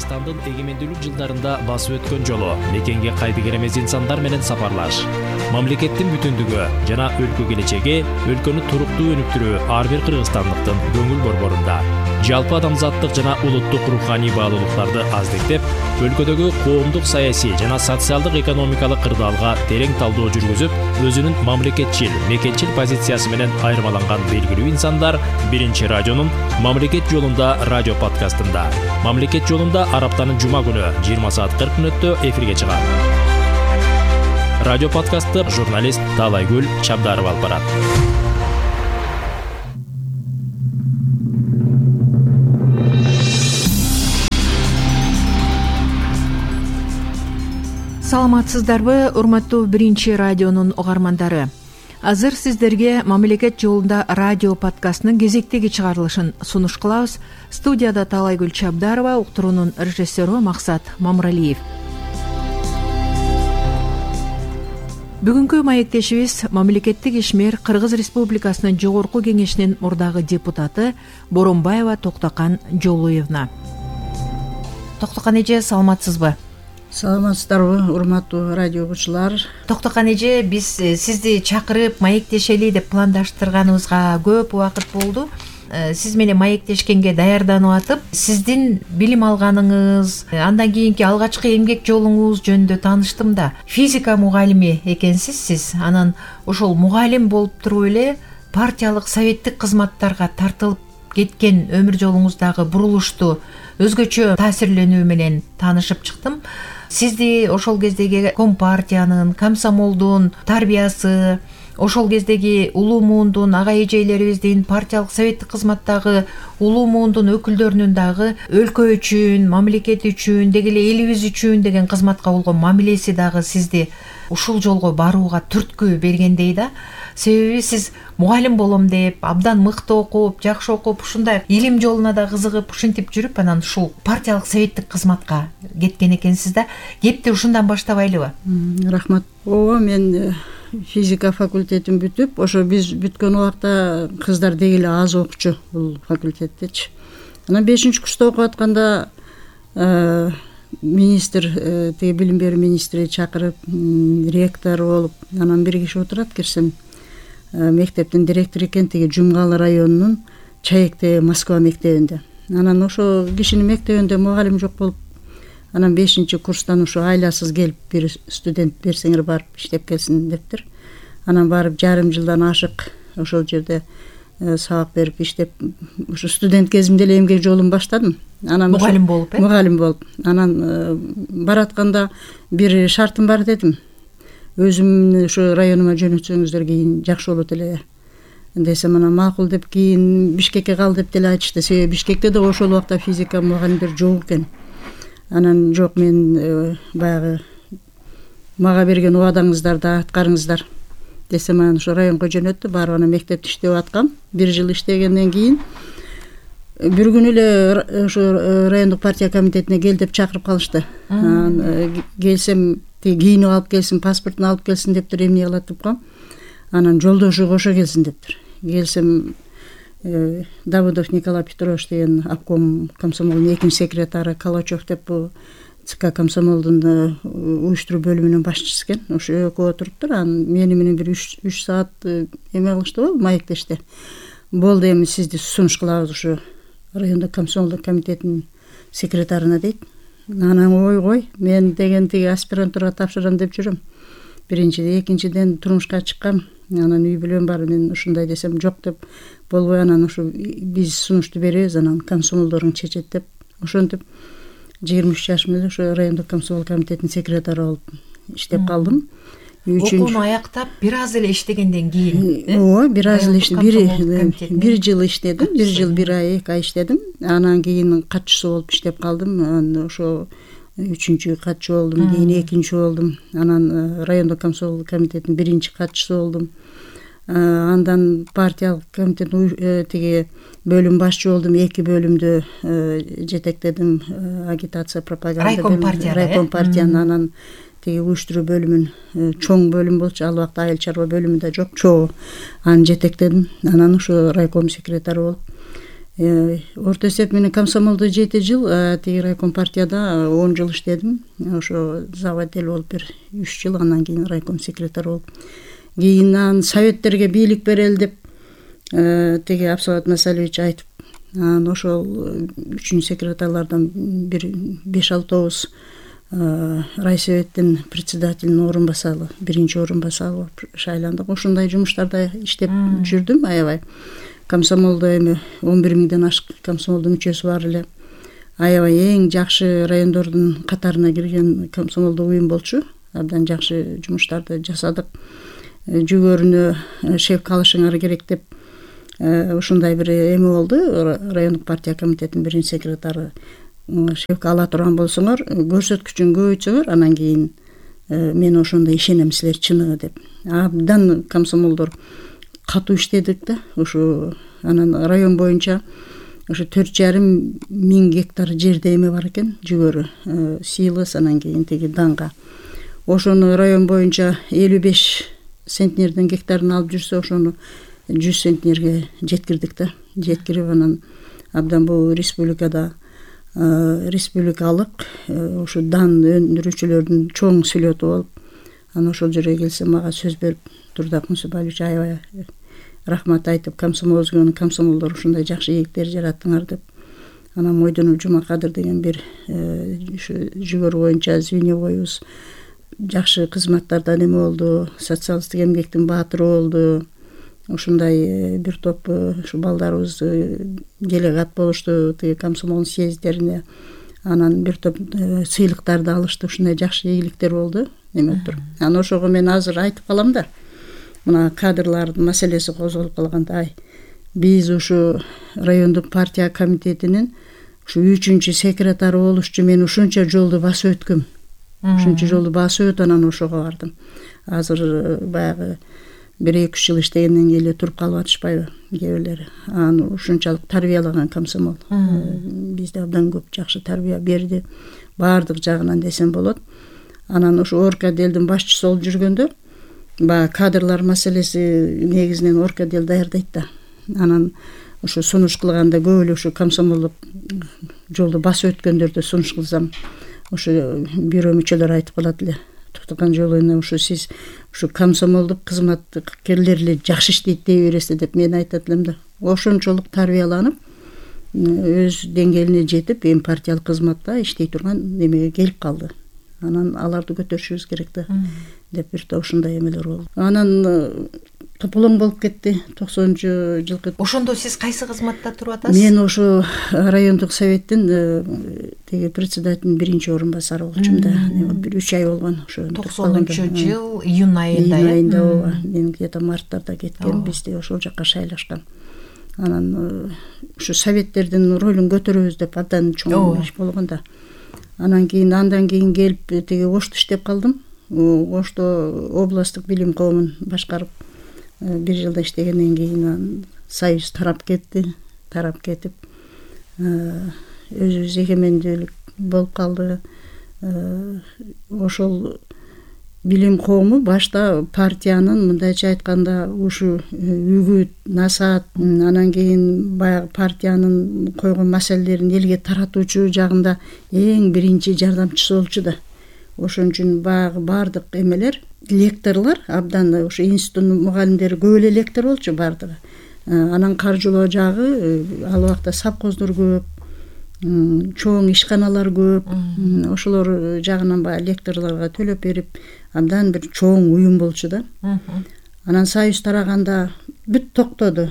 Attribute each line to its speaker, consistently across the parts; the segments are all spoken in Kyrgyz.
Speaker 1: Кыргызстандын эгемендүүлүк жылдарында басып өткөн жолу, мекенге кайтып эмес инсандар менен сапарлаш, мамлекеттин бүтүндүгү жана өлкө келечеги, өлкөнү туруктуу өнүктүрүү ар бир кыргызстандыктын көңүл борборунда. Жалпы адамзаттык жана улуттук руханий баалуулуктарды аздектеп, өлкөдөгү коомдук, саясий жана социалдык экономикалык кырдаалга терең талдоо жүргүзүп, өзүнүн мамлекетчил, мекенчил позициясы менен айырмаланган белгилүү инсандар Биринчи радионун Мамлекет жолунда радио подкастында. Мамлекет жолунда ар аптанын жума күнү 20:40 эфирге чыгат. Радио подкастты журналист Талайгүл Чабдарова алып барат.
Speaker 2: Саламатсыздарбы, урматтуу Биринчи радионун угармандары. Азыр сиздерге Мамлекет жолунда радио подкастынын кезектеги чыгарылышын сунуш кылабыз. Студияда Талайгүл Чабдарова, уктуруунун режиссеру Максат Мамралиев. Бүгүнкү маектешибиз мамлекеттик ишмер Кыргыз Республикасынын Жогорку Кеңешинин мурдагы депутаты Боронбаева Токтокан Жолуевна. Токтокан эже, саламатсызбы?
Speaker 3: Саламатсыздарбы, урматтуу радио угуучулар.
Speaker 2: Токтокан эже, биз сизди чакырып маектешели деп пландаштырганыбызга көп убакыт болду. Сиз менен маектешкенге даярданып атып, сиздин билим алганыңыз, андан кийинки алгачкы эмгек жолуңуз жөнүндө тааныштым да. Физика мугалими экенсиз сиз. Анан ошол мугалим болуп туруп эле партиялык, советтик кызматтарга тартылып кеткен өмүр жолуңуздагы бурулушту өзгөчө таасирленүү менен таанышып чыктым. Сизди ошол кездеги Компартиянын, комсомолдун тарбиясы, ошол кездеги улуу муундун ага эжелерибиздин, партиялык, советтик кызматтагы улуу муундун өкүлдөрүнүн дагы өлкө үчүн, мамлекет үчүн, деги эле элибиз үчүн деген кызматка болгон мамилеси дагы сизди ушул жолго барууга түрткү бергендей да. Себеби сиз мугалим болом деп, абдан мыкты окуп, жакшы окуп, ушундай илим жолуна да кызыгып, ушинтип жүрүп, анан ушул партиялык, советтик кызматка кеткен экенсиз да. Кепти ушундан баштабайлыбы?
Speaker 3: Рахмат. Ооба, мен физика факультетин бүтүп, ошо биз бүткөн убакта кыздар деги эле аз окучу бул факультеттечи. Анан 5-курста окуп атканда министр, теги билим берүү министри чакырып, ректор болуп, анан бир киши отурат, кирсем, мектептин директору экен, теги Жумгалы районунун Чаекте Москва мектебинде. Анан ошо кишинин мектебинде мугалим жок болуп, анан 5-курстан ушу айласыз келип, бир студент берсеңер барып иштеп келсин дептир. Анан барып жарым жылдан ашык ошол жерде сабак берип иштеп, ушу студент кезимде эле эмгек жолун баштадым. Анан
Speaker 2: мугалим болуп,
Speaker 3: мугалим болуп. Анан баратканда бир шартым бар дедим. Өзүмдү ошо районума жөнөтсөңүздөр кийин жакшы болот эле десем, анан макул деп, кийин Бишкекке кал деп деле айтышты. Себеби Бишкекте да ошол убакта физика мугалимдер жок экен. Анан жок, мен баягы мага берген убадаңыздарды аткарыңыздар десем, анан ошо районго жөнөттү. Барып анан мектепте иштеп аткам. 1 жыл иштегенден кийин бир күнү эле ошо райондук партия комитетине кел деп чакырып калышты. Келсем, кийинип алып келсин, паспортун алып келсин дептир, эмне кылат деп коем. Анан жолдошу кошо келсин дептир. Келсем, Давыдов Николай Петрович деген обком комсомолдун 2-нчи секретары, Калачев деп бул ЦК комсомолдун уюштуруу бөлүмүнүн башчысы экен. Ошо экөө отуруптур. Анан мени менен бир 3 саат эме кылышты го, маектешти. Болду, эми сизди сунуш кылабыз ушу райондук комсомолдук комитетинин секретарына дейт. Анан ой, мен деген тиги аспирантурага тапшырам деп жүрөм. Биринчиден, экинчиден турмушка чыккам. Анан үй бүлөм бар, мен ушундай десем жок деп болбой, анан ушу биз сунушту беребиз, анан комсомолдоруң чечет деп, ошентип 23 жашым эле ошо райондук комсомол комитетинин секретары болуп иштеп калдым.
Speaker 2: Окууну аяктап, бир аз эле иштегенден кийин,
Speaker 3: ооба, бир аз эле бир жыл иштедим, 1 жыл 1 ай 2 ай иштедим. Анан кийин катчысы болуп иштеп калдым. Анан ошо 3-чү катчы болдум, кийин 2-нчи болдум. Анан райондук комсомол комитетинин 1-нчи катчысы болдум. Андан партиялык комитеттин тиги бөлүм башчы болдум. 2 бөлүмдү жетектедим, агитация, пропаганда, райком партиянын, анан тиги уюштуруу бөлүмүн, чоң бөлүм болчу, ал убакта айыл чарба бөлүмү да жок, чогуу аны жетектедим. Анан ошо райком секретары болуп Орто эсеп менен комсомолдо 7 жыл, тиги райком партияда 10 жыл иштедим. Ошо заводел болуп бир 3 жыл, анан кийин райком секретарь болуп, кийин советтерге бийлик берели деп тиги Абсабат Масалевич айтып, анан ошол 3-чү секретарлардан бир 5-6 райсоветтин председателинин орун басары, биринчи орун басары болуп шайландык. Ошондой жумуштарда иштеп жүрдүм аябай. Комсомолдо эми 11 миңден ашык комсомолдун мүчөсү бар эле. Аябай эң жакшы райондордун катарына кирген комсомолдо уюм болчу. Абдан жакшы жумуштарды жасадык. Жүгөрүнө шеф калышыңар керек деп ушундай бир эме болду. Райондук партия комитетинин биринчи секретары шефке ала турган болсоңор, көрсөткүчүн көбөйтсөңөр, анан кийин мен ошондо ишенем силер чыныгы деп. Абдан комсомолдор катуу иштедик да. Ушу анан район боюнча ушу 4,5 миң гектар жерде эме бар экен, жүгөрү, силос, анан кийин тиги данга. Ошону район боюнча 55 центнерден гектарын алып жүрсө, ошону 100 центнерге жеткирдик да. Жеткирип анан абдан бул республикада республикалык ушу дан өндүрүүчүлөрдүн чоң сүлөтү болуп, анан ошол жерге келсе мага сөз берип, Турдак Мусубалович аябай рахмат айтып, комсомолдор ушундай жакшы ийгиликтер жараттыңар деп. Анан Мойдонов Жумакадыр деген бир ушу жүгөрү боюнча звеньевойубуз жакшы кызматтардан эме болду, социалисттик эмгектин баатыры болду. Ушундай бир топ ушу балдарыбыз делегат болушту тиги комсомол съезддерине. Анан бир топ сыйлыктарды алышты. Ушундай жакшы ийгиликтер болду эме туруп. Анан ошого мен азыр айтып калам да. Мына кадрлардын маселеси козголуп калганда, биз ушу райондук партия комитетинин ушу 3-чү секретары болушчу мен ушунча жолду басып өткөм. Ушунча жолду басып өтүп анан ошого бардым. Азыр баягы 1-2 жыл иштегенден кийин эле туруп калып атышпайбы кээ бирлери. Аны ушунчалык тарбиялаган комсомол. Бизде абдан көп жакшы тарбия берди, баардык жагынан десем болот. Анан ушу Оркаделдин башчысы болуп жүргөндө баягы кадрлар маселеси негизинен Оркадел даярдайт да. Анан ушу сунуш кылганда көп эле ушу комсомолдук жолду басып өткөндөрдү сунуш кылсам, ушу бюро мүчөлөрү айтып калат эле. Токтогон жолуна ушу сиз ушу комсомолдук кызматкерлер эле жакшы иштейт дей бересиз деп мен айтат элем да. Ошончолук тарбияланып, өз деңгээлине жетип, эми партиялык кызматта иштей турган немеге келип калды. Анан аларды көтөрүшүбүз керек да деп бир топ ушундай эмелер болду. Анан кыпылың болуп кетти 90-жылкы.
Speaker 2: Ошондо сиз кайсы кызматта туруп атасыз?
Speaker 3: Мен ошо райондук советтин тиги председателдин биринчи орун басары болчумун да. Бир 3 ай болгон ошо.
Speaker 2: 90-жыл июнь айында.
Speaker 3: Июнь айында ооба. Мен где-то марттарда кеткем, бизде ошол жакка шайлашкан. Анан ушу советтердин ролун көтөрөбүз деп абдан чоң иш болгон да. Андан кийин келип тиги Ошто иштеп калдым. Ошто областтык билим коомун башкарып 1 жылда иштегенден кийин союз тарап кетип өзүбүз эгемендүүлүк болуп калды. Ошол билим коому башта партиянын мындайча айтканда ушу үгүт, насаат, анан кийин баягы партиянын койгон маселелерин элге таратуучу жагында эң биринчи жардамчысы болчу да. Ошон үчүн баягы баардык эмелер, лекторлор абдан ушу институттун мугалимдери көп эле лектор болчу баардыгы. Анан каржылоо жагы ал убакта совхоздор көп, чоң ишканалар көп. Ошолор жагынан баягы лекторлорго төлөп берип, абдан бир чоң уюм болчу да. Анан союз тараганда бүт токтоду.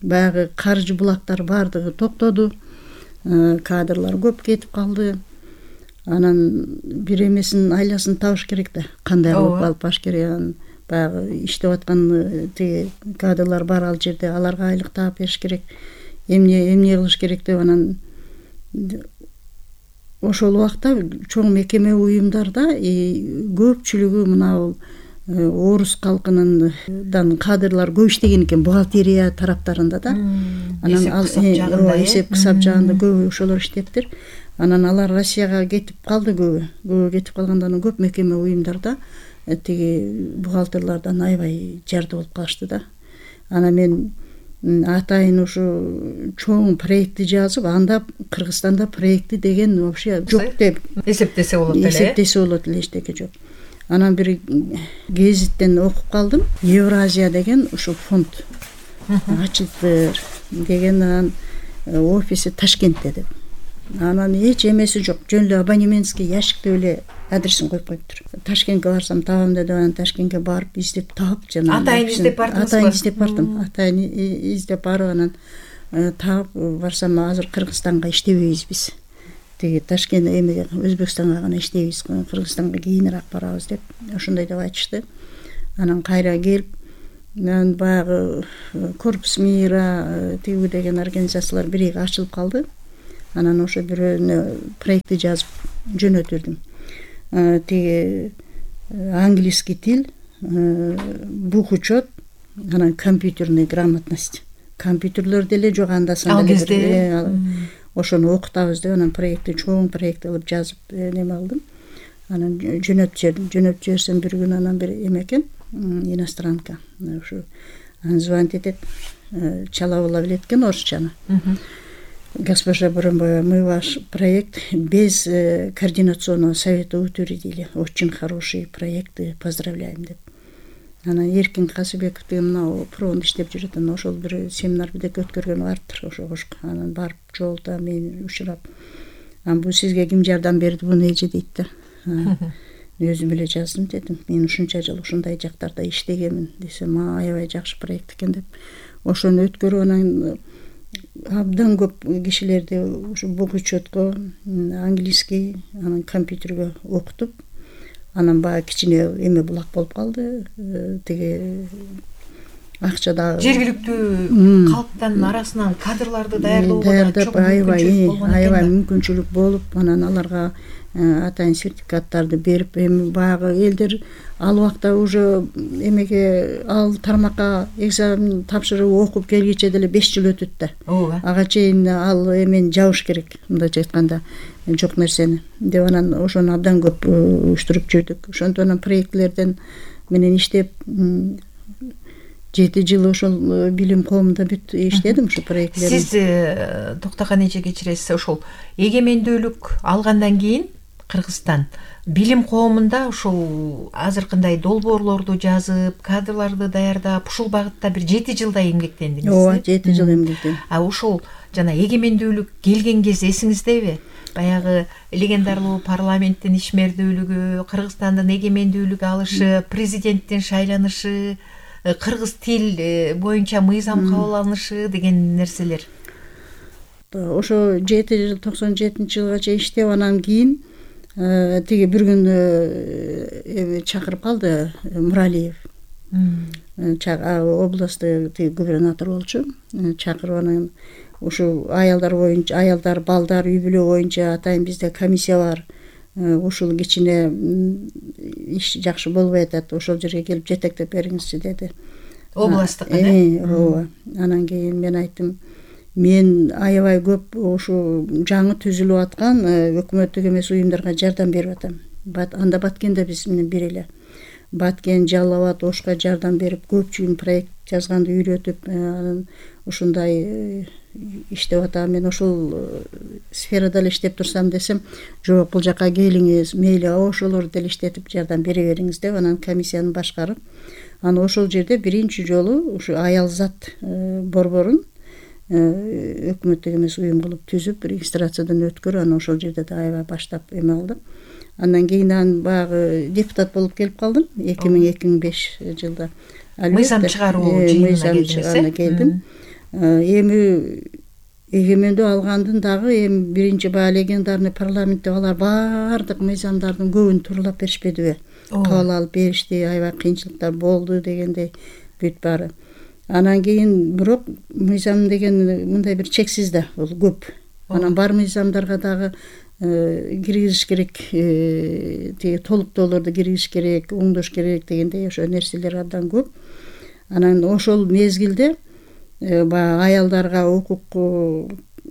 Speaker 3: Баягы каржы булактар баардыгы токтоду. Кадрлар көп кетип калды. Анан бир эмесин айласын табыш керек да. Кандай кылып алып баш керек. Баягы иштеп аткан тиги кадрлар бар ал жерде, аларга айлык таап бериш керек. Эмне кылыш керек деп анан ошол убакта чоң мекеме уюмдарда көпчүлүгү мына орус калкынын кадрлар көп иштеген экен, бухгалтерия тараптарында да. Анан эсеп кысап жагында көп ошолор иштептир. Анан алар Россияга кетип калды көбү кетип калгандан көп мекеме уюмдарда тиги бухгалтерлардан аябай жарды болуп калышты да. Анан мен атайын ушу чоң проектти жазып, анда Кыргызстанда проекти деген вообще жок деп
Speaker 2: эсептесе болот эле.
Speaker 3: Эсептесе болот эле, эчтеке жок. Анан бир гезиттен окуп калдым. Евразия деген ушу фонд ачылды деген, анан офиси Ташкентте деп. Анан эч эмеси жок. Жөн эле абонементский ящикте эле адресин коюп коюптур. Ташкентке барсам табам деп, анан Ташкентке барып издеп таап, жана
Speaker 2: Атайын издеп бардыңызбы?
Speaker 3: Атайын издеп бардым. Атайын издеп барып, анан таап барсам, азыр Кыргызстанга иштебейбиз биз. Тиги Ташкент эмеге, Өзбекстанга гана иштейбиз, Кыргызстанга кийинирээк барабыз деп, ошондой деп айтышты. Анан кайра келип, мен баягы Корпус мира тиги деген организациялар бирге ачылып калды. Анан ошо бирөөнө проектти жазып жөнөтүрдүм. Тиги английский тил, бух учет, анан компьютерная грамотность. Компьютерлер деле жок анда санда.
Speaker 2: Ал кезде
Speaker 3: ошону окутабыз деп, анан проектти, чоң проект кылып жазып неме кылдым. Анан жөнөтүп жиберсем бир күн, анан бир эме экен, иностранка. Ушу звонить этет, чала билет экен орусчаны. Госпожа Буранбаева, мы ваш проект без координационного совета утвердили. Очень хорошие проекты, поздравляем деп. Анан Эркин Касыбеков деген мына проонда иштеп жүрөт, анан ошол бир семинар бирдек өткөргөн барыптыр, ошого. Анан барып жолдо мен учурап, анан бул сизге ким жардам берди, буну эже дейт да. Өзүм эле жаздым дедим. Мен ушунча жыл ушундай жактарда иштегенмин десем, аябай жакшы проект экен деп. Ошону өткөрүп, анан абдан көп кишилерди ушу бук учетко, английский, анан компьютерге окутуп, анан баягы кичине эме булак болуп калды. Тиги акча дагы
Speaker 2: жергиликтүү калктын арасынан кадрларды даярдоого
Speaker 3: аябай мүмкүнчүлүк болуп, анан аларга атайын сертификаттарды берип, эми баягы элдер ал убакта уже эмеге, ал тармакка экзамен тапшырып окуп келгиче деле 5 жыл өтөт да. Ага чейин ал эмени жабыш керек, мындайча айтканда, жок нерсени деп, анан ошону абдан көп уюштуруп жүрдүк. Ошондон анан проектлерден менен иштеп 7 жыл ошол билим коомунда бүт иштедим ушу проектлерди.
Speaker 2: Сиз Токтоган эже кечиресиз, ошол эгемендүүлүк алгандан кийин Кыргызстан билим коомунда ушул азыркындай долбоорлорду жазып, кадрларды даярдап, ушул багытта бир 7 жылдай эмгектендиңиз.
Speaker 3: Ооба, 7 жыл эмгектендим.
Speaker 2: Ушул жана эгемендүүлүк келген кез эсиңиздеби? Баягы легендарлуу парламенттин ишмердүүлүгү, Кыргызстандын эгемендүүлүк алышы, президенттин шайланышы, кыргыз тил боюнча мыйзам кабыл алынышы деген нерселер.
Speaker 3: Ошо 7 жыл 97-жылга чейин иштеп, анан кийин тиги бир күн чакырып калды Муралиев. Областтык тиги губернатор болчу. Чакырып, анан ушу аялдар боюнча, аялдар, балдар үй бүлө боюнча атайын бизде комиссия бар. Ушул кичине иш жакшы болбой атат, ошол жерге келип жетектеп бериңизчи деди.
Speaker 2: Областтык эле.
Speaker 3: Ооба. Анан кийин мен айттым, мен аябай көп ушу жаңы түзүлүп аткан өкмөттүк эмес уюмдарга жардам берип атам. Анда Баткенде биз менен бир эле. Баткен, Жалал Абад, Ошко жардам берип, көпчүлүк проект жазганды үйрөтүп, ушундай иштеп атам. Мен ошол сферада эле иштеп турсам десем, жок, бул жака келиңиз, мейли ошолорду деле иштетип жардам бере бериңиз деп, анан комиссияны башкарып, анан ошол жерде биринчи жолу ушу аял зат борборун өкмөттүк эмес уюм кылып түзүп, регистрациядан өткөрүп, анан ошол жерде да аябай баштап эме кылдым. Андан кийин баягы депутат болуп келип калдым 2000-2005 жылда.
Speaker 2: Мыйзам чыгаруу жыйынына
Speaker 3: келдим. Эми эгемендүү алгандын дагы эми биринчи баягы легендарный парламентте алар баардык мыйзамдардын көбүн тууралап беришпедиби? Кабыл алып беришти, аябай кыйынчылыктар болду дегендей бүт баары. Анан кийин бирок мыйзам деген мындай бир чексиз да, бул көп. Анан бар мыйзамдарга дагы киргизиш керек, тиги толуктоолорду киргизиш керек, оңдош керек дегендей ошо нерселер абдан көп. Анан ошол мезгилде баягы аялдарга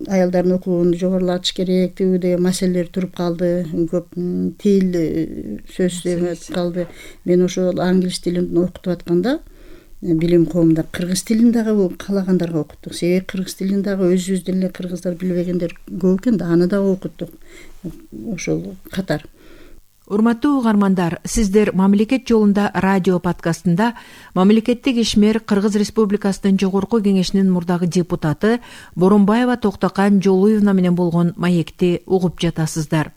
Speaker 3: аялдардын укугун жогорулатыш керек деген маселелер туруп калды. Көп тил сөз эметип калды. Мен ошол англис тилин окутуп атканда билим коомунда кыргыз тилин дагы каалагандарга окуттук. Себеби кыргыз тилин дагы өзүбүздөн эле кыргыздар билбегендер көп экен да, аны дагы окуттук ошол катар.
Speaker 2: Урматтуу угармандар, сиздер Мамлекет жолунда радио подкастында мамлекеттик ишмер Кыргыз Республикасынын Жогорку Кеңешинин мурдагы депутаты Боронбаева Токтокан Жолуевна менен болгон маекти угуп жатасыздар.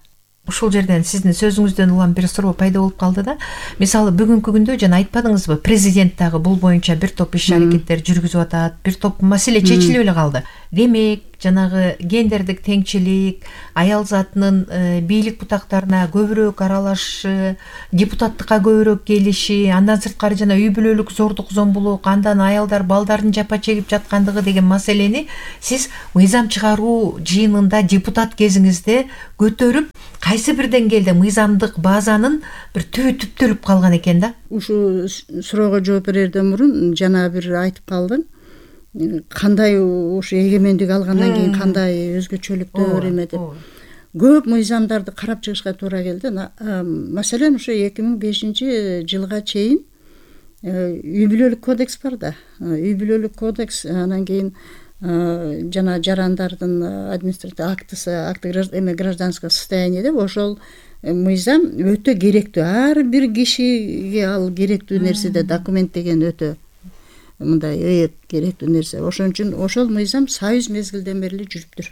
Speaker 2: Ушул жерден сиздин сөзүңүздөн улам бир суроо пайда болуп калды да. Мисалы бүгүнкү күндө жана айтпадыңызбы, президент дагы бул боюнча бир топ иш аракеттер жүргүзүп атат, бир топ маселе чечилип эле калды. Демек, жанагы гендердик теңчилик, аял затынын бийлик бутактарына көбүрөөк аралашышы, депутаттыкка көбүрөөк келиши, андан сырткары жана үй бүлөлүк зордук зомбулук, андан аялдар балдардын жапа чегип жаткандыгы деген маселени сиз мыйзам чыгаруу жыйынында депутат кезиңизде көтөрүп, кайсы бир деңгээлде мыйзамдык базанын бир түбү түптөлүп калган экен да.
Speaker 3: Ушул суроого жооп берерден мурун жана бир айтып калдың. Кандай ушу эгемендик алгандан кийин кандай өзгөчөлүктөр эме деп көп мыйзамдарды карап чыгышка туура келди. Маселен, ушу 2005 жылга чейин үй бүлөлүк кодекс бар да. Үй бүлөлүк кодекс, анан кийин жана жарандардын административдик акты эме гражданское состояние деп ошол мыйзам өтө керектүү. Ар бир кишиге ал керектүү нерсе да, документ деген өтө мындай керектүү нерсе. Ошон үчүн ошол мыйзам союз мезгилден бери жүрүптүр.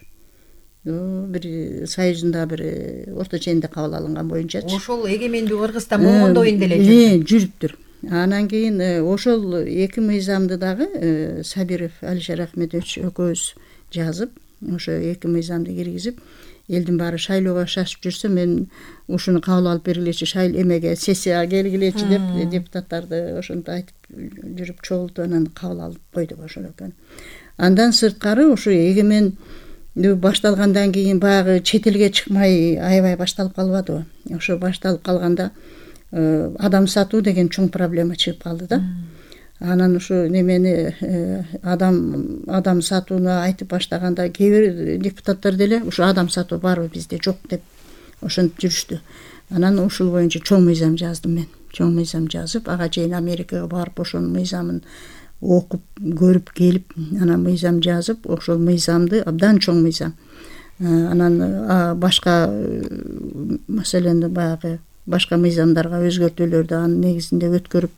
Speaker 3: Бир союздун бир орто ченинде кабыл алынган боюнча
Speaker 2: ошол эгемендүү Кыргызстан болгондой деле
Speaker 3: жүрүптүр. Анан кийин ошол эки мыйзамды дагы Сабиров Алишер Ахмедович экөөбүз жазып, ошо эки мыйзамды киргизип, элдин баары шайлоого шашып жүрсө, мен ушуну кабыл алып бергилечи, эмеге сессияга келгилечи деп депутаттарды ошентип айтып жүрүп чогултуп, анан кабыл алып койдук ошол экен. Андан сырткары ушу эгемен башталгандан кийин баягы чет элге чыкмай аябай башталып калбадыбы? Ошо башталып калганда адам сатуу деген чоң проблема чыгып калды да. Анан ушу немени адам сатууну айтып баштаганда кээ бир депутаттар деле ушу адам сатуу барбы бизде, жок деп ошентип жүрүштү. Анан ушул боюнча чоң мыйзам жаздым мен. Чоң мыйзам жазып, ага чейин Америкага барып ошонун мыйзамын окуп көрүп келип, анан мыйзам жазып, ошол мыйзамды абдан чоң мыйзам. Анан башка маселени баягы башка мыйзамдарга өзгөртүүлөрдү анын негизинде өткөрүп,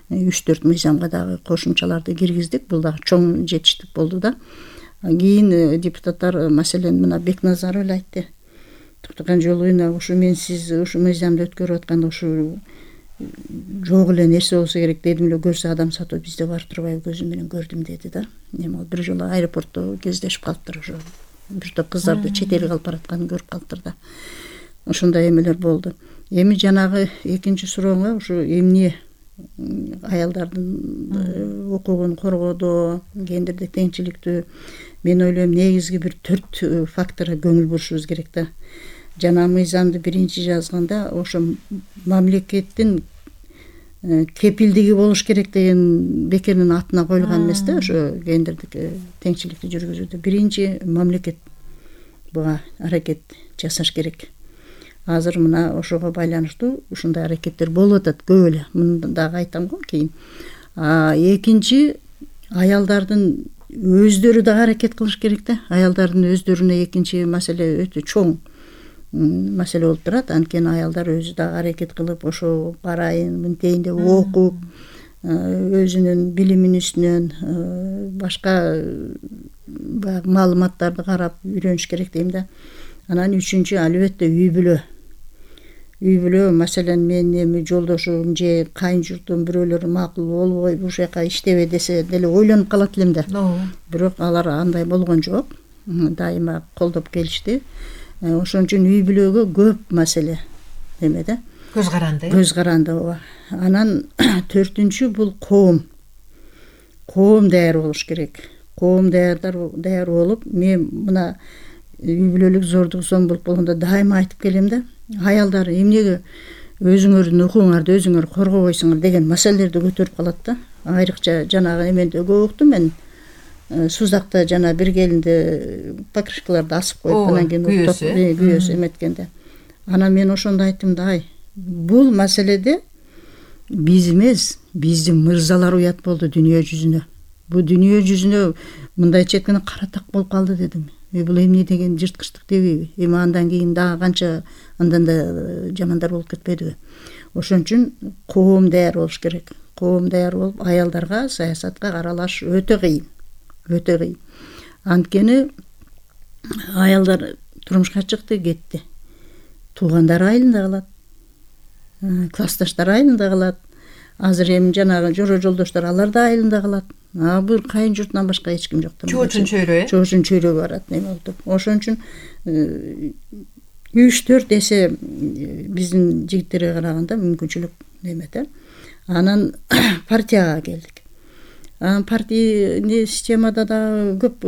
Speaker 3: 3-4 мыйзамга дагы кошумчаларды киргиздик. Бул дагы чоң жетиштик болду да. Кийин депутаттар, маселен, мына Бекназаров эле айтты. Токтоган Жолуевна, ушу мен сиз ушу мыйзамды өткөрүп атканда ушу жок эле нерсе болсо керек дедим эле, көрсө адам сатуу бизде бар турбайбы, көзүм менен көрдүм деди да. Эми бир жолу аэропортто кездешип калыптыр, ошо бир топ кыздарды чет элге алып баратканын көрүп калыптыр да. Ошондой эмелер болду. Эми жанагы экинчи сурооңа, ушу эмне аялдардын укугун коргоодо, гендердик теңчиликтүү, мен ойлойм негизги бир 4 факторго көңүл бурушубуз керек да. Жана мыйзамды биринчи жазганда ошо мамлекеттин кепилдиги болуш керек деген бекеринин атына коюлган эмес да, ошо гендердик теңчиликти жүргүзүүдө. Биринчи мамлекет буга аракет жасаш керек. Азыр мына ошого байланыштуу ушундай аракеттер болуп атат көп эле. Муну дагы айтам го кийин. Экинчи, аялдардын өздөрү дагы аракет кылыш керек да. Аялдардын өздөрүнө экинчи маселе өтө чоң маселе болуп турат. Анткени аялдар өзү дагы аракет кылып, ошо барайын, мынтейин деп окуп, өзүнүн билиминин үстүнөн башка маалыматтарды карап үйрөнүш керек дейм да. Анан үчүнчү, албетте үй бүлө. Үй бүлө, маселен, мен эми жолдошум же кайын журтум бирөөлөр макул болбой ушул жака иштебе десе деле ойлонуп калат элем да. Бирок алар андай болгон жок. Дайыма колдоп келишти. Ошон үчүн үй бүлөгө көп маселе эме да.
Speaker 2: Көз каранды.
Speaker 3: Көз каранды ооба. Анан 4-үнчү бул коом. Коом даяр болуш керек. Коом даяр болуп, мен мына үй бүлөлүк зордук зомбулук болгондо дайыма айтып келем да. Аялдар эмнеге өзүңөрдүн укугуңарды өзүңөр коргобойсуңар деген маселелерди көтөрүп калат да. Айрыкча жанагы эменде көп уктум мен. Сузакта жана бир келинде покрышкаларды асып коюп, анан кийин күйөөсү эметкенде. Анан мен ошондо айттым да, бул маселеде биз эмес, биздин мырзалар уят болду дүйнө жүзүнө. Бул дүйнө жүзүнө мындайча айтканда кара так болуп калды дедим. Бул эмне деген жырткычтык дебейби? Эми андан кийин дагы канча андан да жамандар болуп кетпедиби? Ошон үчүн коом даяр болуш керек. Коом даяр болуп, аялдарга саясатка аралаш өтө кыйын. Өтө кыйын. Анткени аялдар турмушка чыкты, кетти. Туугандары айылында калат. Классташтары айылында калат. Азыр эми жанагы жора жолдоштор алар да айылында калат. Бир кайын журтунан башка эч ким жок.
Speaker 2: Чоочун чөйрө,
Speaker 3: Чоочун чөйрөгө барат неме болуп. Ошон үчүн 3-4 эсе биздин жигиттерге караганда мүмкүнчүлүк немете. Анан партияга келдик. Партий системада да көп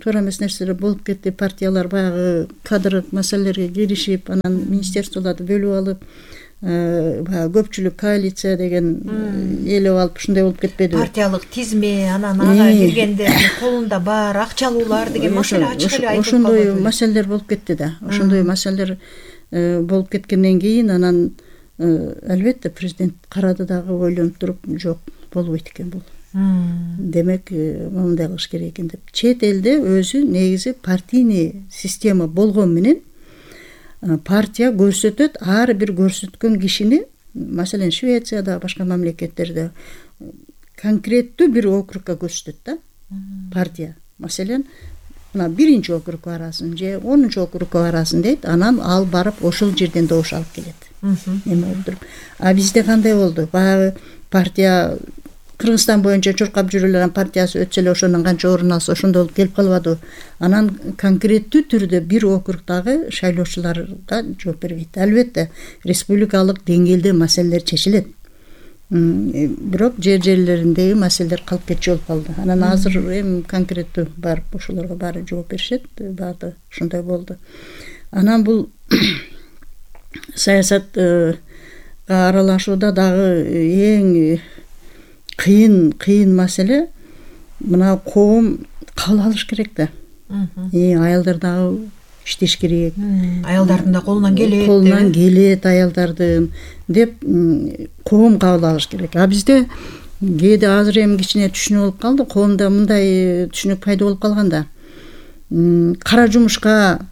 Speaker 3: туура эмес нерселер болуп кетти. Партиялар баягы кадрлык маселелерге киришип, анан министерстволорду бөлүп алып, баягы көпчүлүк коалиция деген ээлеп алып, ушундай болуп кетпедиби?
Speaker 2: Партиялык тизме, анан ага киргенде колунда бар акчалуулар деген маселе ачык эле айтылып калды.
Speaker 3: Ошондой маселелер болуп кетти да. Ошондой маселелер болуп кеткенден кийин анан албетте президент карады дагы, ойлонуп туруп, жок, болбойт экен бул. Демек, мындай кылыш керек экен деп. Чет элде өзү негизи партийный система болгон менен партия көрсөтөт, ар бир көрсөткөн кишини, маселен Швецияда, башка мамлекеттерде конкреттүү бир округка көрсөтөт да. Партия, маселен, мына 1-чи округка барасың же 10-чу округка барасың дейт, анан ал барып ошол жерден добуш алып келет. Эме болуп туруп. А бизде кандай болду? Баягы партия Кыргызстан боюнча чуркап жүрүлгөн партиясы өтсө эле ошондон канча орун алса ошондой болуп келип калбады. Анан конкреттүү түрдө бир округдагы шайлоочуларга жооп бербейт. Албетте, республикалык деңгээлде маселелер чечилет. Бирок жерлериндеги маселелер калып кетчү болуп калды. Анан азыр эми конкреттүү барып ошолорго баары жооп беришет. Баары ошондой болду. Анан бул саясатка аралашууда дагы эң кыйын маселе мына коом кабыл алыш керек да. Аялдар дагы иштеш керек.
Speaker 2: Аялдардын да колунан келет.
Speaker 3: Колунан келет аялдардын деп коом кабыл алыш керек. А бизде кээде азыр эми кичине түшүнүк болуп калды. Коомдо мындай түшүнүк пайда болуп калганда, кара жумушка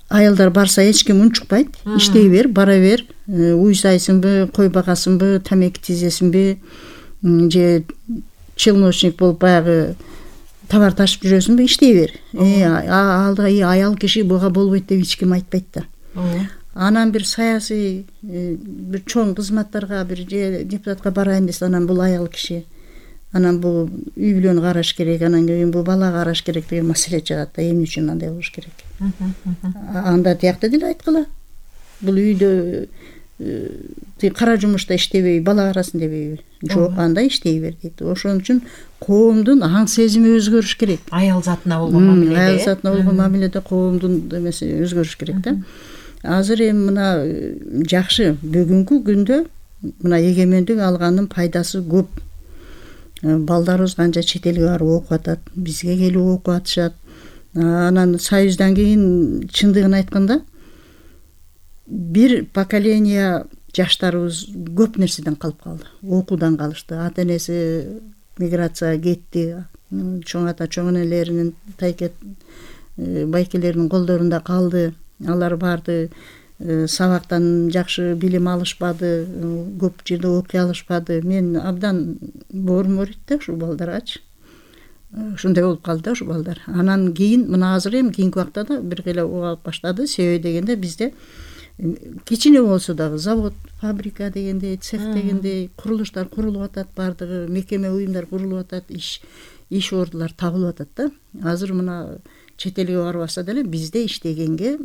Speaker 3: аялдар барса эч ким унчукпайт. Иштей бер, бара бер, уй сайсыңбы, кой багасыңбы, тамеки тизесиңби, же челночник болуп баягы товар ташып жүрөсүңбү, иштей бер. Аял киши буга болбойт деп эч ким айтпайт да. Анан бир саясий бир чоң кызматтарга, бир же депутатка барайын десе, анан бул аял киши, анан бул үй бүлөнү караш керек, анан кийин бул бала караш керек деген маселе чыгат да. Эмне үчүн андай болуш керек? Анда тиякта деле айткыла. Бул үйдө кара жумушта иштебей, бала карасын дебейби? Жок, анда иштей бер дейт. Ошон үчүн коомдун аң сезими өзгөрүш керек.
Speaker 2: Аял затына болгон мамиледе.
Speaker 3: Аял затына болгон мамиледе коомдун эмеси өзгөрүш керек да. Азыр эми мына жакшы, бүгүнкү күндө мына эгемендик алганын пайдасы көп. Балдарыбыз канча чет элге барып окуп атат, бизге келип окуп атышат. Анан Союздан кийин чындыгын айтканда бир поколение жаштарыбыз көп нерседен калып калды. Окуудан калышты. Ата энеси миграцияга кетти. Чоң ата, чоң энелеринин, тайкет байкелеринин колдорунда калды. Алар барды сабактан жакшы билим алышпады, көп жерде окуй алышпады. Мен абдан боорум ооруйт да ушул балдаргачы. Ушундай болуп калды да ушул балдар. Анан кийин мына азыр эми кийинки убакта да бир кыйла угап баштады. Себеби дегенде бизде кичине болсо дагы завод, фабрика дегендей, цех дегендей курулуштар курулуп атат, бардыгы мекеме, уюмдар курулуп атат, иш ордулар табылып атат да. Азыр мына чет элге барбаса деле бизде иштегенге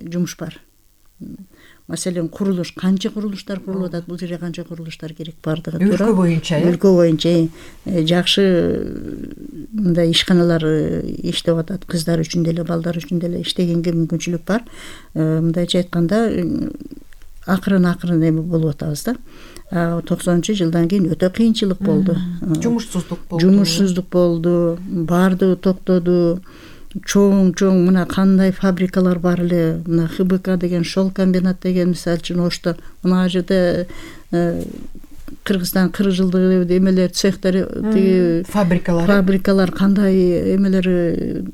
Speaker 3: жумуш бар. Маселен, курулуш, канча курулуштар курулуп атат, бул жерге канча курулуштар керек, бардыгы туура.
Speaker 2: Өлкө боюнча,
Speaker 3: өлкө боюнча жакшы мындай ишканалар иштеп атат, кыздар үчүн деле, балдар үчүн деле иштегенге мүмкүнчүлүк бар. Мындайча айтканда, акырын эми болуп атабыз да. 90-жылдан кийин өтө кыйынчылык болду.
Speaker 2: Жумушсуздук болду.
Speaker 3: Жумушсуздук болду, бардыгы токтоду. чоң мына кандай фабрикалар бар эле, мына ХБК деген, шол комбинат деген, мисалы үчүн Ошто мына жерде Кыргызстан 40 жылдык эмелер, цехтер, тиги фабрикалар кандай эмелер,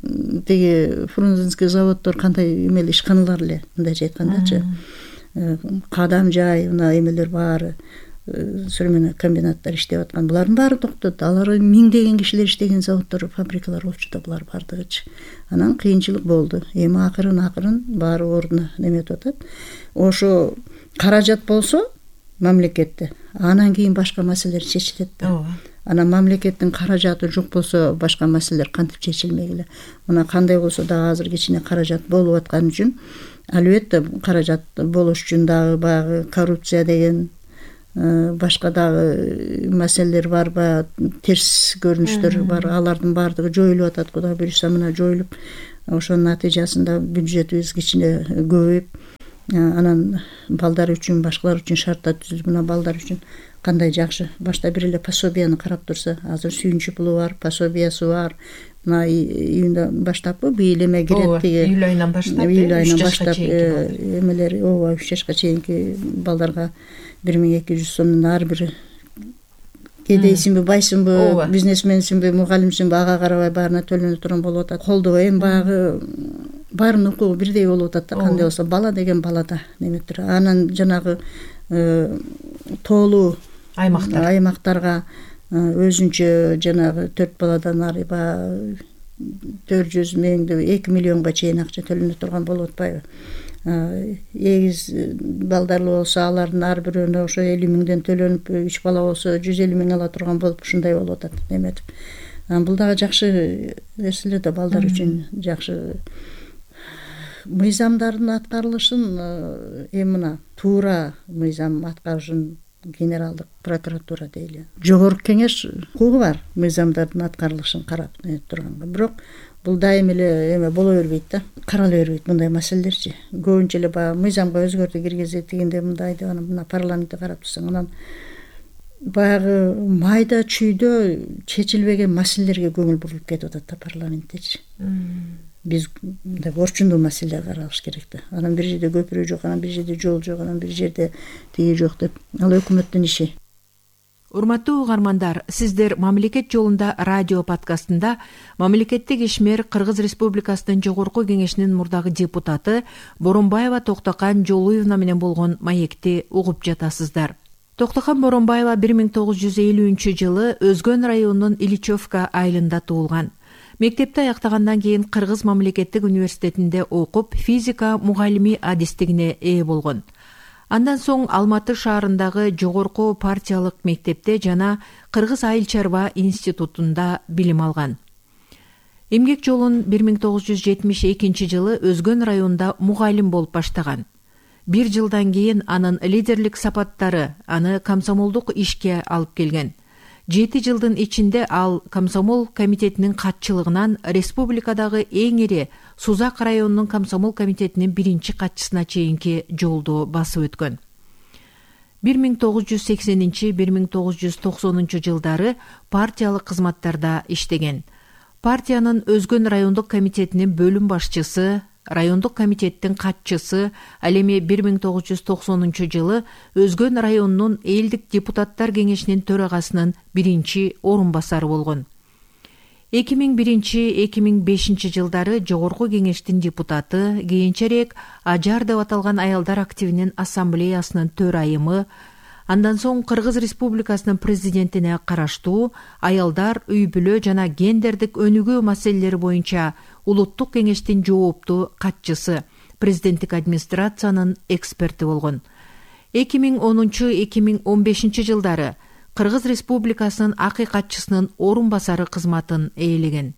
Speaker 3: тиги Фрунзенский заводдор кандай эмеле ишканалар эле, мындайча айткандачы. Кадам жай, мына эмелер баары, современный комбинаттар иштеп аткан. Булардын баары токтоду. Алар миңдеген кишилер иштеген заводдор, фабрикалар болчу да булар бардыгычы. Анан кыйынчылык болду. Эми акырын баары ордуна неметип атат. Ошо каражат болсо мамлекетте, анан кийин башка маселелер чечилет да. Анан мамлекеттин каражаты жок болсо башка маселелер кантип чечилмек эле. Мына кандай болсо дагы азыр кичине каражат болуп аткан үчүн, албетте каражат болуш үчүн дагы баягы коррупция деген, башка дагы маселелер бар, баягы терс көрүнүштөр бар. Алардын баардыгы жоюлуп атат. Кудай буюрса мына жоюлуп, ошонун натыйжасында бюджетибиз кичине көбөйүп, анан балдар үчүн, башкалар үчүн шарттар түзүлүп, мына балдар үчүн кандай жакшы. Башта бир эле пособияны карап турса, азыр сүйүнчү пулу бар, пособиясы бар. Мына июндан баштаппы быйыл эме кирет, тиги
Speaker 2: июль айынан баштап
Speaker 3: эмелер, 3 жашка чейинки балдарга 1200 сомдун ар бири кедейсиңби, байсыңбы, бизнесменсиңби, мугалимсиңби, ага карабай баарына төлөнө турган болуп атат. Колдоо эми баягы баарынын укугу бирдей болуп атат да, кандай болсо бала деген балада неметир. Анан жанагы тоолуу аймактарга өзүнчө жанагы 4 баладан ары баягы 400 миңди 2 миллионго чейин акча төлөнө турган болуп атпайбы? Эгиз балдарлуу болсо алардын ар бирөөнө ошо 50 миңден төлөнүп, 3 бала болсо 150 миң ала турган болуп, ушундай болуп атат неметип. Бул дагы жакшы нерселер да, балдар үчүн жакшы. Мыйзамдардын аткарылышын эми мына туура мыйзам аткарышын генералдык прокуратура дейли. Жогорку кеңеш укугу бар мыйзамдардын аткарылышын карап турганга. Бирок бул дайым эле эме боло бербейт да, карала бербейт мындай маселелерчи. Көбүнчө эле баягы мыйзамга өзгөртүү киргизет дегенде мындай деп, анан мына парламентте карап турсаң, анан баягы майда чүйдө чечилбеген маселелерге көңүл бурулуп кетип атат да парламенттечи. Биз мындай орчундуу маселелер каралыш керек да. Анан бир жерде көпүрө жок, анан бир жерде жол жок, анан бир жерде тиги жок деп. Ал өкмөттүн иши.
Speaker 2: Урматтуу угармандар, сиздер Мамлекет жолунда радио подкастында мамлекеттик ишмер Кыргыз Республикасынын Жогорку Кеңешинин мурдагы депутаты Боронбаева Токтокан Жолуевна менен болгон маекти угуп жатасыздар. Токтокан Боронбаева 1950-жылы Өзгөн районунун Ильичевка айылында туулган. Мектепти аяктагандан кийин Кыргыз мамлекеттик университетинде окуп, физика мугалими адистигине ээ болгон. Андан соң Алматы шаарындагы жогорку партиялык мектепте жана Кыргыз айыл чарба институтунда билим алган. Эмгек жолун 1972-жылы Өзгөн районунда мугалим болуп баштаган. 1 жылдан кийин анын лидерлик сапаттары аны комсомолдук ишке алып келген. 7 жылдын ичинде ал комсомол комитетинин катчылыгынан республикадагы эң ири Сузак районунун комсомол комитетинин 1-чи катчысына чейинки жолду басып өткөн. 1980-1990 жылдары партиялык кызматтарда иштеген. Партиянын Өзгөн райондук комитетинин бөлүм башчысы, райондук комитеттин катчысы, ал эми 1990 жылы Өзгөн районунун элдик депутаттар кеңешинин төрагасынын 1-чи орун басары болгон. 2001-2005 жылдары Жогорку Кеңештин депутаты, кийинчерээк Ажар деп аталган аялдар активинин ассамблеясынын төрайымы, андан соң Кыргыз Республикасынын президентине караштуу аялдар, үй-бүлө жана гендердик өнүгүү маселелери боюнча Улуттук кеңештин жооптуу катчысы, президенттик администрациянын эксперти болгон. 2010-2015 жылдары Кыргыз Республикасынын акыйкатчысынын орун басары кызматын ээлеген.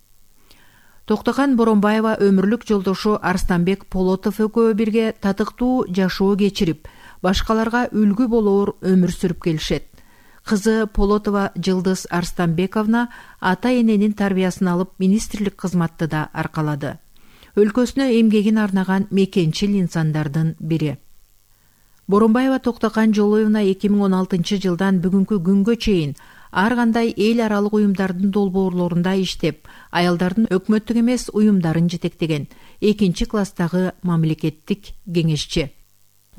Speaker 2: Токтокан Боронбаева өмүрлүк жолдошу Арстанбек Полотов экөө бирге татыктуу жашоо кечирип, башкаларга үлгү болоор өмүр сүрүп келишет. Кызы Полотова Жылдыз Арстанбековна ата-эненин тарбиясын алып министрлик кызматты да аркалады. Өлкөсүнө эмгегин арнаган мекенчил инсандардын бири. Боронбаева Токтокан Жолуевна 2016 жылдан бүгүнкү күнгө чейин ар кандай эл аралык уюмдардын долбоорлорунда иштеп, аялдардын өкмөттүк эмес уюмдарын жетектеген 2-класстагы мамлекеттик кеңешчи.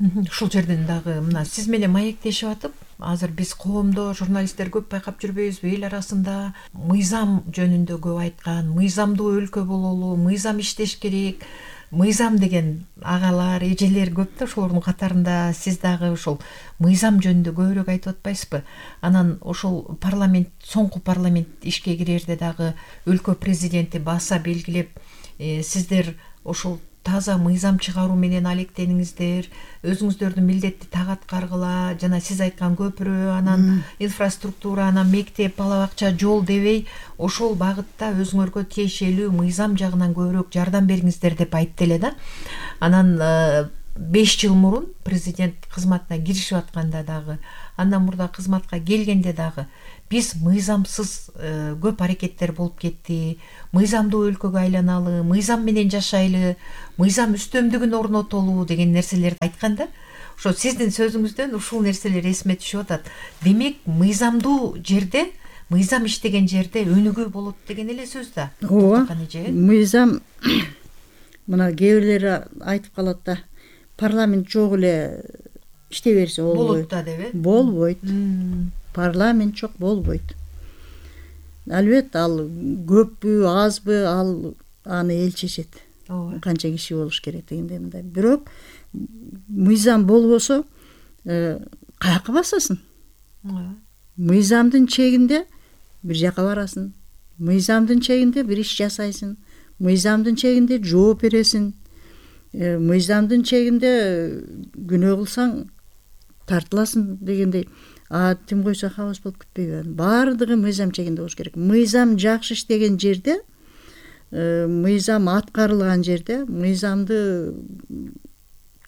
Speaker 2: Ушул жерден дагы мына сиз менен маектешип атып, азыр биз коомдо журналисттер көп байкап жүрбөйбүзбү, эл арасында мыйзам жөнүндө көп айткан, мыйзамдуу өлкө бололу, мыйзам иштеш керек, мыйзам деген агалар, эжелер көп да, ошолордун катарында сиз дагы ошол мыйзам жөнүндө көбүрөөк айтып атпайсызбы? Анан ошол парламент, соңку парламент ишке кирерде дагы өлкө президенти баса белгилеп, сиздер ошол таза мыйзам чыгаруу менен алектениңиздер, өзүңүздөрдүн милдетти так аткаргыла, жана сиз айткан көпүрө, анан инфраструктура, анан мектеп, бала бакча, жол дебей, ошол багытта өзүңөргө тиешелүү мыйзам жагынан көбүрөөк жардам бериңиздер деп айтты эле да. Анан 5 жыл мурун президент кызматына киришип атканда дагы, андан мурда кызматка келгенде дагы биз мыйзамсыз көп аракеттер болуп кетти, мыйзамдуу өлкөгө айланалы, мыйзам менен жашайлы, мыйзам үстөмдүгүн орнотолу деген нерселерди айтканда, ошо сиздин сөзүңүздөн ушул нерселер эсиме түшүп атат. Демек, мыйзамдуу жерде, мыйзам иштеген жерде өнүгүү болот деген эле сөз да.
Speaker 3: Ооба, мыйзам мына кээ бирлери айтып калат да, парламент жок эле иштей берсе
Speaker 2: болот да деп,
Speaker 3: болбойт. Парламент жок болбойт. Албетте ал көппү, азбы, ал аны эл чечет. Канча киши болуш керек дегенде мындай. Бирок мыйзам болбосо каяка басасың? Мыйзамдын чегинде бир жака барасың. Мыйзамдын чегинде бир иш жасайсың. Мыйзамдын чегинде жооп бересиң. Мыйзамдын чегинде күнөө кылсаң тартыласың дегендей. Тим койсо хабас болуп кетпейби? Баардыгы мыйзам чегинде болуш керек. Мыйзам жакшы иштеген жерде, мыйзам аткарылган жерде, мыйзамды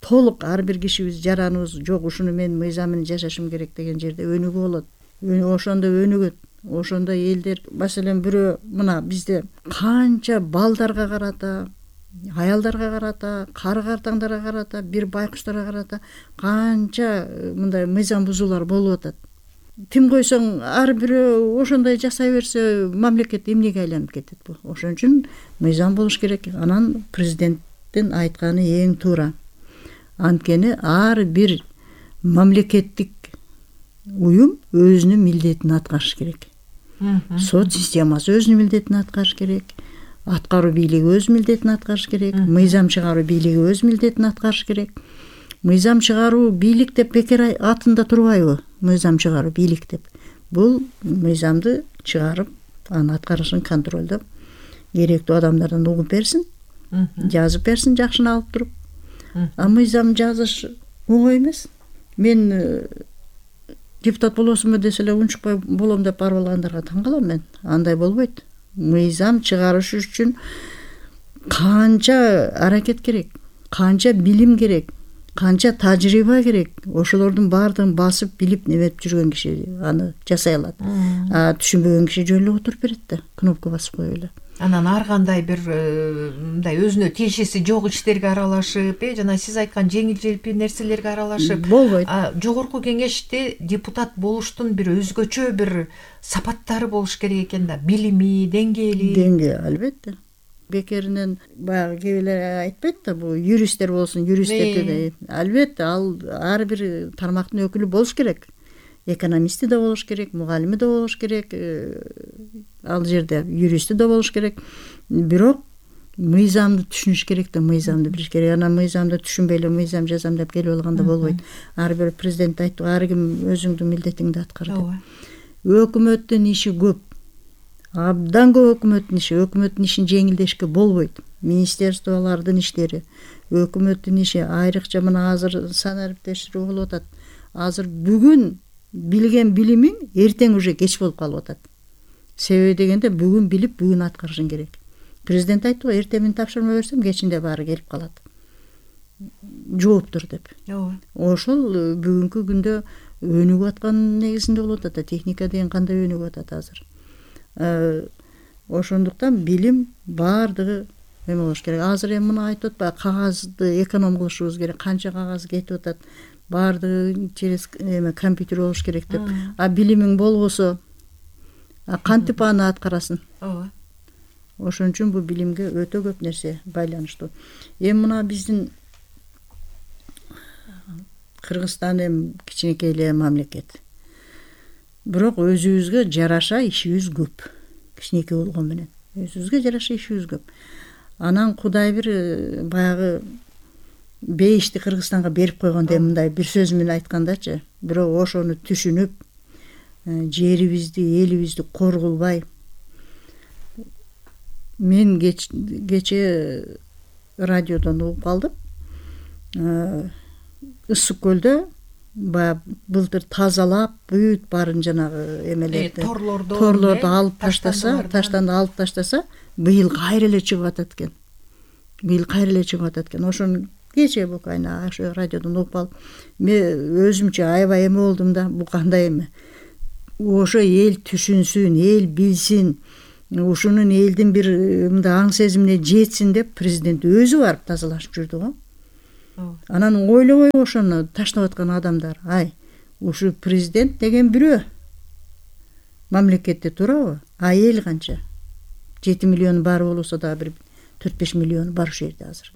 Speaker 3: толук ар бир кишибиз жараныбыз жок, ушуну мен мыйзам менен жашашым керек деген жерде өнүгүү болот. Ошондо өнүгөт. Ошондо элдер, маселен бирөө мына бизде канча балдарга карата, аялдарга карата, кары картаңдарга карата, бир байкуштарга карата канча мындай мыйзам бузуулар болуп атат. Тим койсоң ар бирөө ошондой жасай берсе, мамлекет эмнеге айланып кетет бул? Ошон үчүн мыйзам болуш керек. Анан президенттин айтканы эң туура. Анткени ар бир мамлекеттик уюм өзүнүн милдетин аткарыш керек. Сот системасы өзүнүн милдетин аткарыш керек. Аткаруу бийлиги өз милдетин аткарыш керек. Мыйзам чыгаруу бийлиги өз милдетин аткарыш керек. Мыйзам чыгаруу бийлик деп бекер атында турбайбы? Мыйзам чыгаруу бийлик деп. Бул мыйзамды чыгарып, аны аткарышын контролдоп, керектүү адамдардан угуп берсин, жазып берсин жакшыны алып туруп. Мыйзам жазыш оңой эмес. Мен депутат болосумбу десе эле унчукпай болом деп барып алгандарга таң калам мен. Андай болбойт. Мыйзам чыгарыш үчүн канча аракет керек, канча билим керек, канча тажрыйба керек. Ошолордун баардыгын басып билип неметип жүргөн киши аны жасай алат. Түшүнбөгөн киши жөн эле отуруп берет да, кнопка басып коюп эле.
Speaker 2: Анан ар кандай бир мындай өзүнө тиешеси жок иштерге аралашып, жана сиз айткан жеңил-желпи нерселерге аралашып
Speaker 3: болбойт.
Speaker 2: Жогорку кеңеште депутат болуштун бир өзгөчө бир сапаттары болуш керек экен да, билими, деңгээли.
Speaker 3: Албетте. Бекеринен баягы кээ бирлер айтпайт да, бул юристтер болсун, юристтерде албетте ал ар бир тармактын өкүлү болуш керек. Экономисти да болуш керек, мугалими да болуш керек, ал жерде юристи да болуш керек. Бирок мыйзамды түшүнүш керек да, мыйзамды билиш керек. Анан мыйзамды түшүнбөй эле мыйзам жазам деп келип алганда болбойт. Ар бир президент айтты, ар ким өзүңдүн милдетиңди аткар деп. Өкмөттүн иши көп. Абдан көп өкмөттүн иши. Өкмөттүн ишин жеңилдешке болбойт. Министерстволордун иштери, өкмөттүн иши айрыкча мына азыр санариптештирүү болуп атат. Азыр бүгүн билген билимиң эртең уже кеч болуп калып атат. Себеби дегенде бүгүн билип, бүгүн аткарышың керек. Президент айтты го, эртең мен тапшырма берсем, кечинде баары келип калат. Жооптур деп. Ошол бүгүнкү күндө өнүгүп аткан негизинде болуп атат. Техника деген кандай өнүгүп атат азыр. Ошондуктан билим баардыгы эме болуш керек. Азыр эми мына айтып атпайбы, кагазды эконом кылышыбыз керек. Канча кагаз кетип атат. Баардыгы через компьютер болуш керек деп. Билимиң болбосо кантип аны аткарасын.
Speaker 2: ооба.
Speaker 3: Ошон үчүн бул билимге өтө көп нерсе байланыштуу. Эми мына биздин Кыргызстан эми кичинекей эле мамлекет. Бирок өзүбүзгө жараша ишибиз көп. Кичинекей болгон менен өзүбүзгө жараша ишибиз көп. Анан Кудай бир баягы бейишти Кыргызстанга берип койгондой, мындай бир сөз менен айткандачы, бирок ошону түшүнүп, жерибизди, элибизди коргулбай, мен кече радиодон угуп калдым. Ысык көлдө баягы былтыр тазалап, бүт баарын жанагы эмелерди, торлорду алып таштанды алып таштаса, быйыл кайра эле чыгып атат экен. Ошону кече букайына ошо радиодон угуп алып, мен өзүмчө аябай эме болдум да, бул кандай эме. Ошо эл түшүнсүн, эл билсин, ушунун элдин бир мындай аң сезимине жетсин деп президент өзү барып тазалашып жүрдү го. Анан ойлобой ошону таштап аткан адамдар, ушу президент деген бирөө мамлекетте турабы? Эл канча? 7 миллион бар болсо да бир 4-5 миллион бар ушул жерде азыр.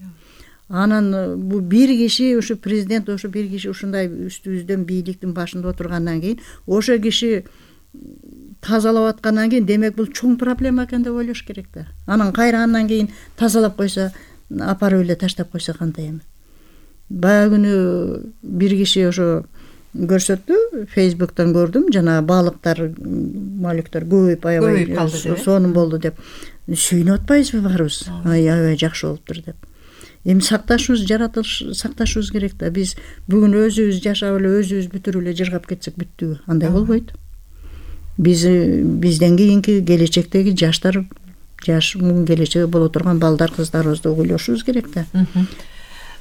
Speaker 3: Анан бул бир киши, ушу президент, ошо бир киши ушундай үстүбүздөн бийликтин башында отургандан кийин, ошо киши тазалап аткандан кийин, демек бул чоң проблема экен деп ойлош керек да. Анан кайра андан кийин тазалап койсо, апарып эле таштап койсо кандай эми? Баягы күнү бир киши ошо көрсөттү, Facebook'тан көрдүм, жана балыктар, малектер көбөйүп аябай сонун болду деп. Сүйүнүп атпайбызбы баарыбыз? Аябай жакшы болуптур деп. Эми сакташыбыз, жаратылыш сакташыбыз керек да. Биз бүгүн өзүбүз жашап эле, өзүбүз бүтүрүп эле жыргап кетсек бүттүбү? Андай болбойт. Бизден кийинки келечектеги жаштар, жаш келечеги боло турган балдар, кыздарыбызды ойлошубуз керек да.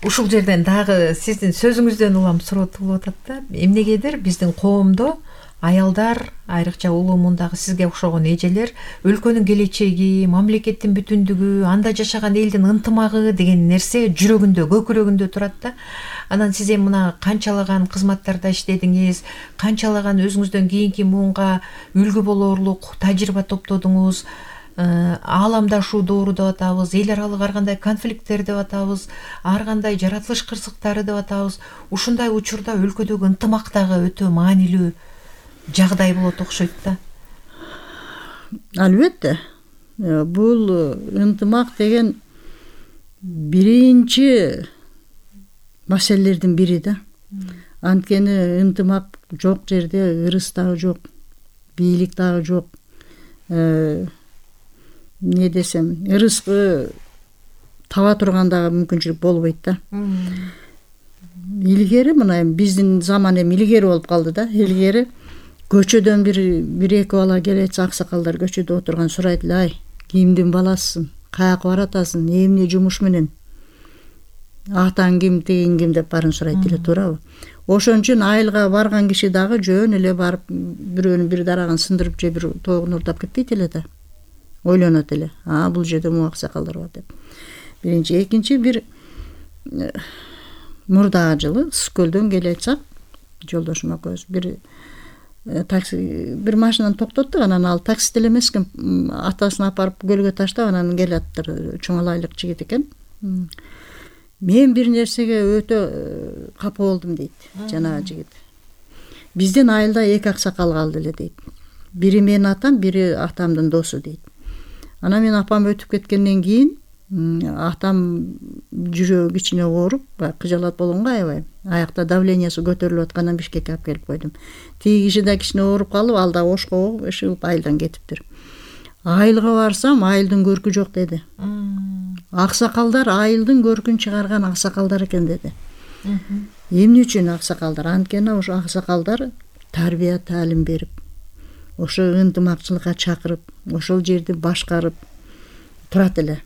Speaker 2: Ушул жерден дагы сиздин сөзүңүздөн улам суроо туулуп атат да. Эмнегедир биздин коомдо аялдар, айрыкча улуу мундагы сизге окшогон эжелер, өлкөнүн келечеги, мамлекеттин бүтүндүгү, анда жашаган элдин ынтымагы деген нерсе жүрөгүндө, көкүрөгүндө турат да. Анан сиз эми мына канчалаган кызматтарда иштедиңиз, канчалаган өзүңүздөн кийинки муунга үлгү болорлук тажрыйба топтодуңуз. Ааламдашуу доору деп атабыз, эл аралык ар кандай конфликттер деп атабыз, ар кандай жаратылыш кырсыктары деп атабыз. Ушундай учурда өлкөдөгү ынтымак дагы өтө маанилүү жагдай болот окшойт да.
Speaker 3: Албетте. Бул ынтымак деген биринчи маселелердин бири да. Анткени ынтымак жок жерде ырыс дагы жок, бийлик дагы жок. Не десем, ырыскы таба турган дагы мүмкүнчүлүк болбойт да. Илгери мына биздин заман эми илгери болуп калды да. Илгери көчөдөн бир эки бала келет, аксакалдар көчөдө отурган сурайт эле, кимдин баласысың, каяка баратасың, эмне жумуш менен, атаң ким, тигин ким деп баарын сурайт эле, туурабы? Ошон үчүн айылга барган киши дагы жөн эле барып бирөөнүн бир дарагын сындырып же бир тоогун урдап кетпейт эле да. Ойлонот эле, бул жерде му аксакалдар бар деп. Биринчи, экинчи, бир мурдагы жылы Ысык-Көлдөн келе жатсак, жолдошум экөөбүз бир машинаны токтоттук, анан ал таксист эле эмес экен, атасын апарып көлгө таштап, анан келаптыр, чоңалайлык жигит экен. Мен бир нерсеге өтө капа болдум дейт жанагы жигит. Биздин айылда эки аксакал калды эле дейт. Бири менин атам, бири атамдын досу дейт. Анан мен апам өтүп кеткенден кийин атам жүрөгү кичине ооруп, кыжалат болгонго аябай. Аякта давлениясы көтөрүлүп аткандан Бишкекке алып келип койдум. Тиги киши да кичине ооруп калып, ал да ошко ышыгып айылдан кетиптир. Айылга барсам, айылдын көркү жок деди. Аксакалдар айылдын көркүн чыгарган аксакалдар экен деди. Эмне үчүн аксакалдар? Анткени ошо аксакалдар тарбия таалим берип, ошо ынтымакчылыкка чакырып, ошол жерди башкарып турат эле.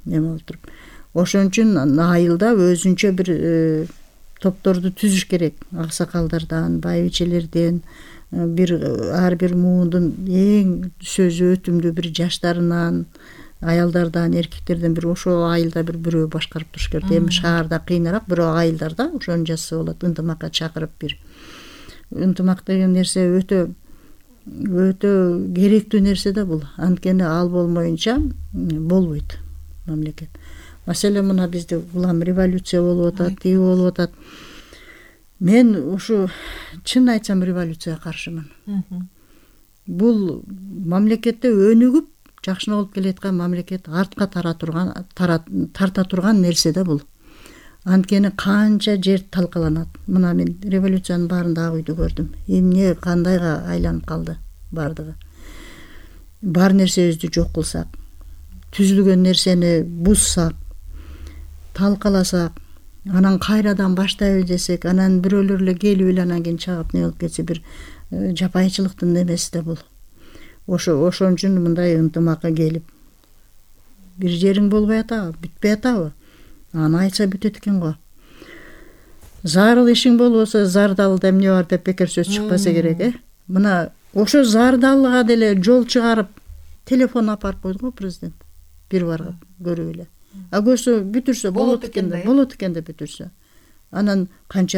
Speaker 3: Эме болуп туруп. Ошон үчүн айылда өзүнчө бир топторду түзүш керек. Аксакалдардан, байбичелерден, ар бир муундун эң сөзү өтүмдүү бир жаштарынан, аялдардан, эркектерден бир ошол айылда бирөө башкарып туруш керек. Эми шаарда кыйыныраак, бирок айылдарда ошону жасаса болот, ынтымакка чакырып бир. Ынтымак деген нерсе өтө өтө керектүү нерсе да бул. Анткени ал болмоюнча болбойт мамлекет. Маселен мына бизде улам революция болуп атат, тиги болуп атат. Мен ушу чын айтсам революцияга каршымын. Бул мамлекетте өнүгүп жакшына болуп келаткан мамлекет артка тарта турган нерсе да бул. Анткени канча жер талкаланат. Мына мен революциянын баарында ак үйдү көрдүм. Эмне кандайга айланып калды бардыгы. Бар нерсебизди жок кылсак, түзүлгөн нерсени бузсак, талкаласак, анан кайрадан баштайбыз десек, анан бирөөлөр эле келип эле анан кийин чагып не болуп кетсе, бир жапайычылыктын немеси да бул. Ошон үчүн мындай ынтымакка келип, бир жериң болбой атабы, бүтпөй атабы? Аны айтса бүтөт экен го. Зарыл ишиң болбосо зардалда эмне бар деп бекер сөз чыкпаса керек, Мына ошо зардалга деле жол чыгарып, телефон апарып койду го президент. Бир барып көрүп эле. А көрсө бүтүрсө болот экен да бүтүрсө. Анан канча